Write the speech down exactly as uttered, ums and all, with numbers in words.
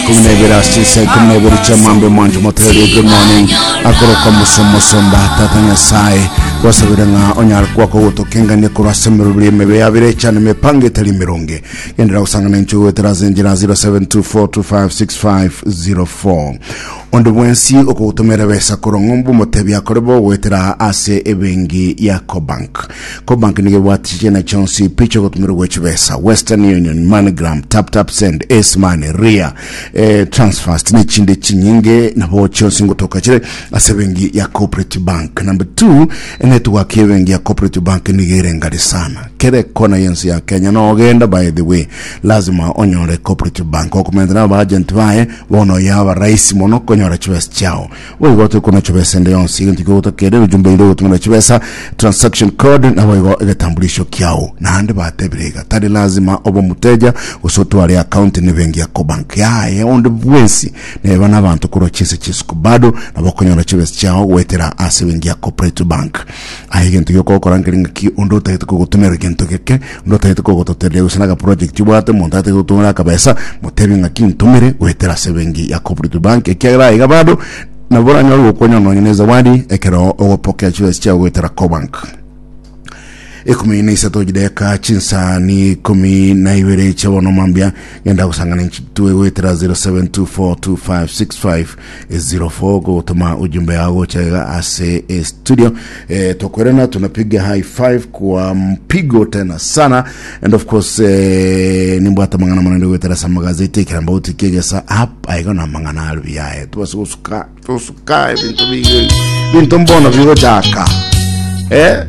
Ikomi na ibere ase chinsa ikomi na ibere chia mambia. Mwancho motererie, good morning. Akoroka musomosomba Tata Nyasaye, twasabire ng'a onyare kwako gotokengania korwa ase emeroberi emebe yabire echane mipango etari emeronge. Gendera gosangana inche goetera ase enchera zero seven two four two five six five zero four. Onde bwensi okogotomera besa korwa ng'ombe, omotebi akore bo goetera ase ebengi ya Cobank. Cobank nigo ebwate chichena chionsi picha ogotumera gwe chibesa: Western Union, MoneyGram, Tap Tap Send, Ace Money, Ria, eh, Transfast nechinde chinyinge, nabo chionsi ngotoka chire ase ebengi ya Cooperative Bank. Number two, enetwork y'ebengi ya Cooperative Bank nigo ere ngari sana kere kona yensi ya Kenya. Nogenda, by the way, lazima onyore Cooperative Bank okomentera aba agent baye. Bono yaba rahisi mono konyora chibesa chiao. Boigo tokona chibesa ende yonsi, egento kigotokere ujumbe ire gotumira chibesa, transaction code, naboigo egetambulisho kiao. Naende batebire iga, tari lazima obe omuteja gose otware account nebengi ya Cobank yaye. Onde bwensi neba n'abanto korwa chinse chisuku bado nabo okonyora chibesa chiao goetera ase ebengi ya Cooperative Bank. Aye egento giokokora nkeri ng'aki, onde otagete kogotumera gento geke, onde otagete kogototereria gose naga project obwate, omonto atagete gotumera akabesa, motebi ng'aki ntumire goetera ase ebengi ya Cooperative Bank, ekiagera iga bado nabo oranyore gokonya nonye na zawadi ekero ogopokea chibesa chiao goetera Cobank. Ikumi na isato chideka chinsa ni ikumi na ibere chiabono mambia. Genda gusangana nchitue goetera zero seven two four two five six five zero four gotuma ujumbe yao gochega ase eh, studio. eh, tokwerena tunapiga high five kwa mpigo tena sana. And of course, eh, nimbwata mang'ana manene goetera sa magazeti ekiramba utikegesa app aigo na mang'ana arubi yaye tubase gosuka tusuka ebinto bingi binto mbono bigochaka eh.